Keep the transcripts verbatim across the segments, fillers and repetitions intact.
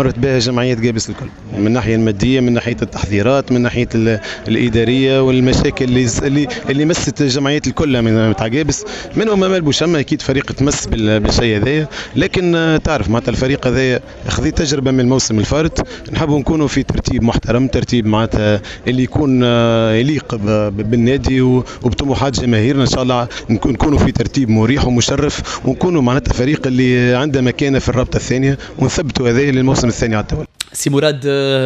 مرت بها جمعية قابس الكل، من الناحية الماديه، من ناحية التحضيرات، من ناحية الادارية والمشاكل اللي اللي اللي مست الجمعيات الكل من تاع قابس، منهم امال بوشمه. اكيد فريق تمس بالشيء هذايا، لكن تعرف معناتها الفريق هذايا خذي تجربه من الموسم الفارط. نحبوا نكونوا في ترتيب محترم، ترتيب معناتها اللي يكون يليق بالنادي وبطموحات جماهيرنا. ان شاء الله نكونوا في ترتيب مريح ومشرف، ونكونوا معناتها فريق اللي عنده مكانه في الرابطة الثانيه، ونثبتوا هذا للموسم الثاني على التوالي. سي مراد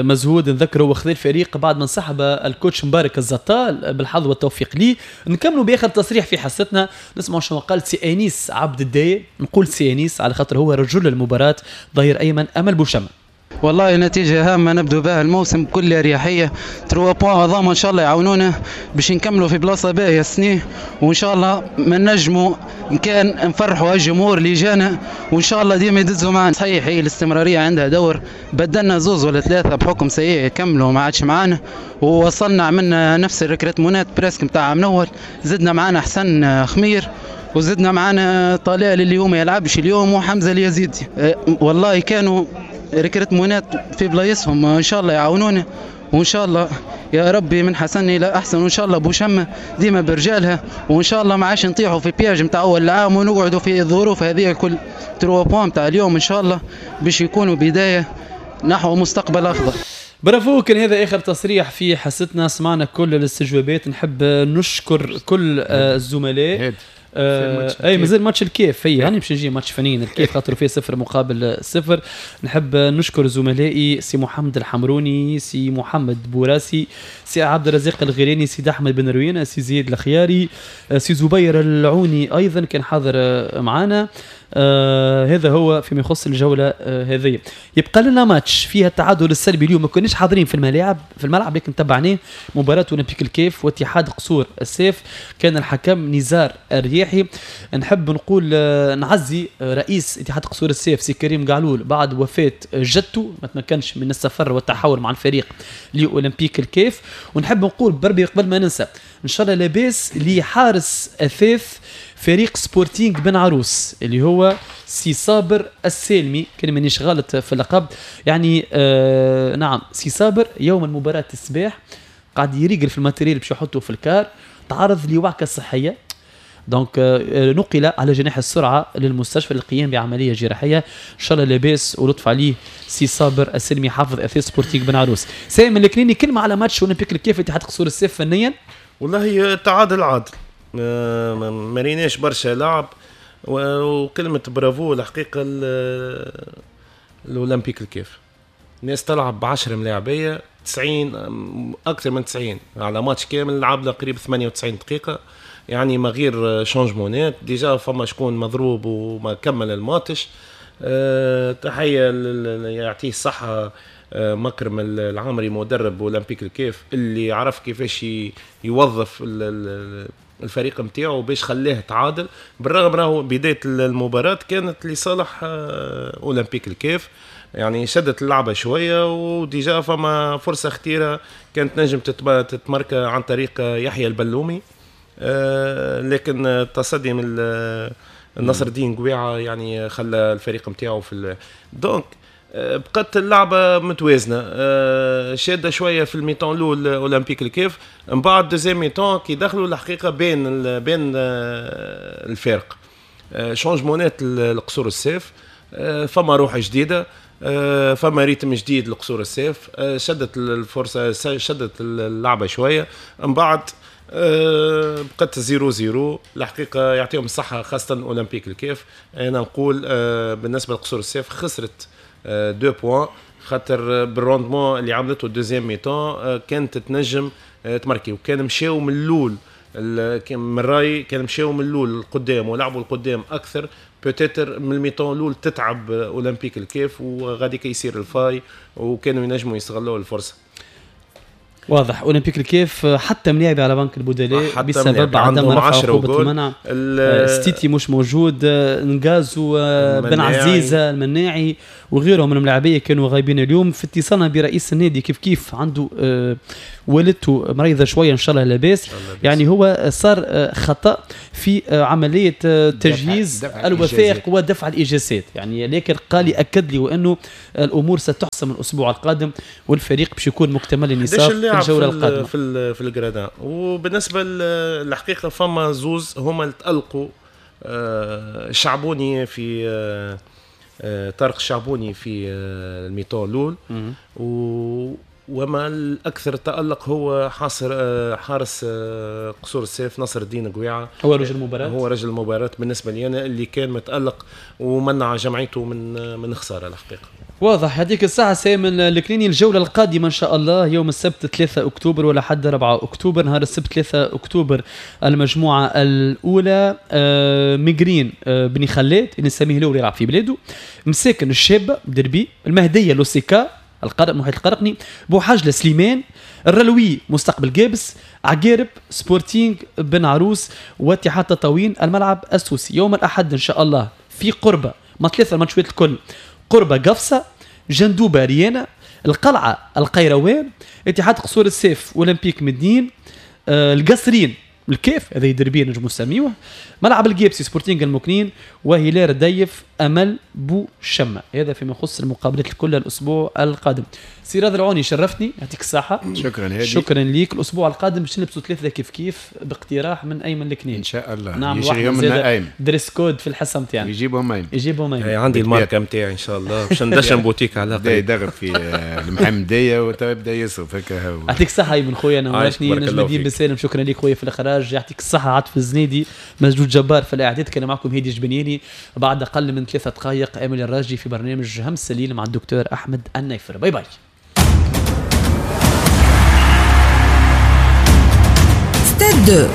مزهود، نذكره هو خذ الفريق بعد ما انسحب ال coach مبارك الزطال، بالحظ والتوفيق ليه. نكملوا باخر تصريح في حصتنا، نسمعوا شنو قال سي انيس عبد الداي. نقول سي انيس على خاطر هو رجل المباراة، ظهير ايمن امل بوشمه. والله نتيجة هامة نبدو بها الموسم بكل أريحية، trois points هذوما إن شاء الله يعاونونا باش نكملوا في بلاصة باهية السنة، وإن شاء الله ما نجموا كان نفرحوا الجمهور اللي جانا، وإن شاء الله ديما يدزوا معنا. صحيح هي الاستمرارية عندها دور، بدلنا زوز ولا ثلاثة بحكم سيء كملوا ما عادش معانا، ووصلنا عملنا نفس ال recrutement ات presque نتاع عام الأول، زدنا معانا حسن خمير، وزدنا معانا طلال اللي هو ما يلعبش اليوم، وحمزة اليزيدي. والله كانوا recrutement ات في بلايصهم، ان شاء الله يعاونونا، وان شاء الله يا ربي من حسن الى احسن، وان شاء الله بوشمه ديما برجالها، وان شاء الله ما عادش نطيحوا في piège نتاع اول العام ونقعدوا في الظروف هذه الكل. trois points تاع اليوم ان شاء الله باش يكونوا بداية نحو مستقبل افضل. برافو، كان هذا اخر تصريح في حصتنا، سمعنا كل الاستجوابات. نحب نشكر كل الزملاء. آه اي مازال ماتش الكاف، هي هاني باش نجي ماتش فنيين الكاف خاطر فيه صفر مقابل صفر. نحب نشكر زملائي سي محمد الحمروني، سي محمد بوراسي، سي عبد الرزاق الغيراني، سي احمد بن روينه، سي زياد الخياري، سي زبير العوني ايضا كان حاضر معنا. آه هذا هو فيما يخص الجولة آه هذه. يبقى لنا ماتش فيها التعادل السلبي اليوم، ما كناش حاضرين في الملاعب في الملعب لكن تبعناه، مباراة اولمبيك الكاف واتحاد قصور الساف، كان الحكم نزار الرياحي. نحب نقول آه نعزي رئيس اتحاد قصور الساف سي كريم قعلول بعد وفاه جدته، ما تمكنش من السفر والتحاور مع الفريق لاولمبيك الكاف. ونحب نقول بربي قبل ما ننسى، ان شاء الله لاباس لحارس اثاث فريق سبورتينغ بن عروس اللي هو سي صابر السالمي، كان مانيش غلط في اللقب يعني. آه نعم، سي صابر يوم المباراة الصباح قاعد يريقل في ال matériel باش يحطه في ال car، تعرض لوعكة صحية، donc آه نقل على جناح السرعة للمستشفى للقيام بعملية جراحية. ان شاء الله لاباس ولطف عليه سي صابر السلمي حافظ اثاث سبورتينغ بن عروس. سامي الكنيني، كلمة على ماتش اولمبيك الكاف اتحاد قصور الساف فنيا. والله تعادل عادل، ما ريناش برشا لعب، وكلمة برافو الحقيقة الأولمبيك الكاف. الناس تلعب بعشرة ملاعبية، تسعين أكثر من تسعين على ماتش كامل، لعبنا قريب ثمانية وتسعين دقيقة يعني ما غير changement ات. déjà فما شكون مضروب وما كمل الماتش. أه تحية يعطيه الصحة مكرم العامري مدرب أولمبيك الكاف اللي عرف كيفاش يوظف الفريق نتاعو باش خلاه تعادل، بالرغم راهو بداية المباراة كانت لصالح اولمبيك الكاف، يعني شدت اللعبة شوية، و déjà فما فرصة خطيرة كانت نجم تتمركى عن طريق يحيى البلومي، لكن التصدي من النصر الدين قويعه يعني خلى الفريق نتاعو في donc بقت اللعبة متوازنه، شاده شوية في ال mi-temps الاول اولمبيك الكاف، من بعد deuxième mi-temps كي دخلوا الحقيقة بين بين الفارق، changement ات القصور الساف، فما روح جديده، فما rythme جديد لقصور الساف، شدت الفرصة، شدت اللعبة شوية، من بعد بقت zéro zéro. الحقيقة يعطيهم الصحة خاصة اولمبيك الكاف. انا نقول بالنسبة لقصور الساف خسرت deux points، خاطر بال rendement اللي عملته ال deuxième mi-temps كانت تنجم تماركي، وكان مشاو من الاول، من رايي كان مشاو من الاول القدام ولعبوا القدام اكثر، peut-être من ال mi-temps الاول تتعب اولمبيك الكاف وغادي يصير ال faille، وكانوا ينجموا يستغلوا الفرصة. واضح. اولمبيك الكاف حتى ملاعب على بنك البدلاء بسبب عدم رفع عقوبه المنع. ستيتي مش موجود، نغازو، بن عزيزه، المناعي وغيرهم من الملاعبيه كانوا غايبين اليوم. في اتصالنا برئيس النادي كيف كيف عنده آه والدته مريضه شوية، ان شاء الله لاباس. يعني هو صار خطا في عملية تجهيز الوثائق ودفع الاجازات يعني، لكن قال لي اكد لي وانه الامور ستحسم الاسبوع القادم والفريق باش يكون مكتمل النصاب في الجولة القادمة في في ال gradins. وبالنسبة للحقيقة فما زوز هما اللي تالقوا، الشعبوني في طارق الشعبوني في ال mi-temps الاول، و وما الاكثر تالق هو حاصر حارس قصور السيف نصر الدين قويعه، هو رجل المباراة، هو رجل المباراة بالنسبة لي انا، اللي كان متالق ومنع جمعيته من من خسارة الحقيقة. واضح. هذيك الساعة سايمن الكليني. الجولة القادمة ان شاء الله يوم السبت ثلاثة اكتوبر ولا حد أربعة اكتوبر. نهار السبت ثلاثة اكتوبر المجموعة الاولى ميغرين بني خلاد اللي نسميه الاول يلعب في بلاده، مساكن الشابة دربي، المهدية لوسيكا القرق محيط القرقني، بوحجلة سليمان، الرلوي مستقبل جابس، عقارب سبورتينغ بن عروس، واتحاد تطاوين الملعب السوسي. يوم الاحد ان شاء الله في قربه ما ثلاثة الماتشات الكل، قربه قفصه، جندوبه ريانا، القلعة القيروان، اتحاد قصور السيف اولمبيك مدين، آه القصرين الكيف هذا يدربين نجمو نسميوه، ملعب الجيبسي سبورتينغ المكنين، وهلال رديف امل بو شمه. هذا فيما يخص المقابلات الكل الاسبوع القادم. سي راضي العوني شرفتني، يعطيك الصحة. شكرا هادي، شكرا ليك. الاسبوع القادم باش نلبسوا ثلاثة كيف كيف باقتراح من ايمن الكنين ان شاء الله. نعم، واحد dress code في الحصة نتاعنا يجيبهم ايمن، يجيبهم ايمن. عندي الماركة نتاعي ان شاء الله باش ندشن بوتيك على بدا يدغب في المحمدية وتبدا يصرف هكا. هو يعطيك الصحة ايمن خويا، نورتني. نجم الدين بن سالم شكرا لك خويا في الاخراج، يعطيك الصحة. عاطف الزنيدي مجدود جبار في الاعداد. كان معكم هادي جبنياني. بعد اقل من ثلاثة دقائق امل الراجي في برنامج همس الليل مع الدكتور احمد النيفر. bye bye. ستاد